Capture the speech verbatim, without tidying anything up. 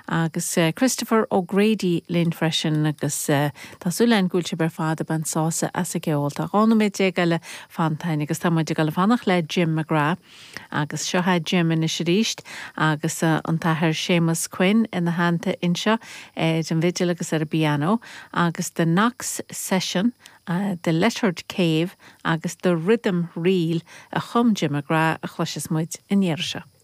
Agus uh, Christopher O'Grady linn freisin agus uh, Tású lein gúil se ber fad ben sása as a gceol Tá dhá nóiméad déag eile fanta agus tá muid ag fanacht le Jim McGrath agus seo é Jim anois arís agus uh, an t-athair Seamus Quinn ina theannta anseo ar an bhfidil agus ar an bpianó agus the Knox Session uh, the Lettered Cave agus the Rhythm Reel a chum Jim McGrath a chloisfidh muid an iarraidh seo.